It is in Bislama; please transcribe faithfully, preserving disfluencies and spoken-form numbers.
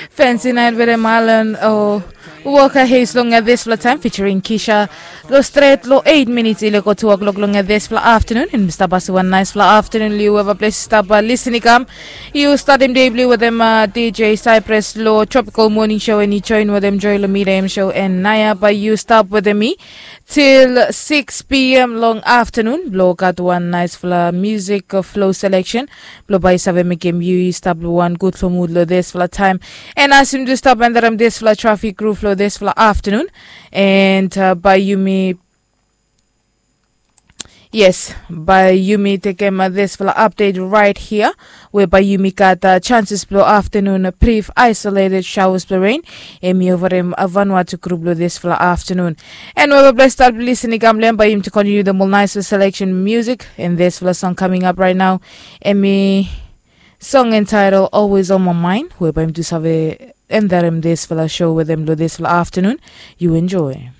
Fensi nait wetem Alan o Walker Hayes long dispela taim featuring Kisha. Lo stret lo eight minutes i leko two o'clock long dispela afternoon, and Mr. Basi, one nice fla afternoon liu weva ples stap listening kam. You starting day blue with them uh, D J Cypress lo Tropical Morning Show and you join with them Joy Lamita M Show and Naya by you stop with me till six p.m. long afternoon. Blo got one nice fla music uh, flow selection. Blo by save mekem you stop one good flow mood lo this fla time. And as him do stop and them this fla traffic groove lo this fla afternoon. And uh, by you me Yes, by yumi tekem dispela update right here, whereby yumi gat uh, chances blo afternoon uh, brief isolated showers blo rain. Em i overem uh, Vanuatu group blo dispela afternoon. And weba blessed start listening gamlem by yumi to continue the more nice selection music in dispela song coming up right now. Em i song entitled Always on My Mind, whereby yumi to save endarem dispela show with them blo dispela afternoon. You enjoy.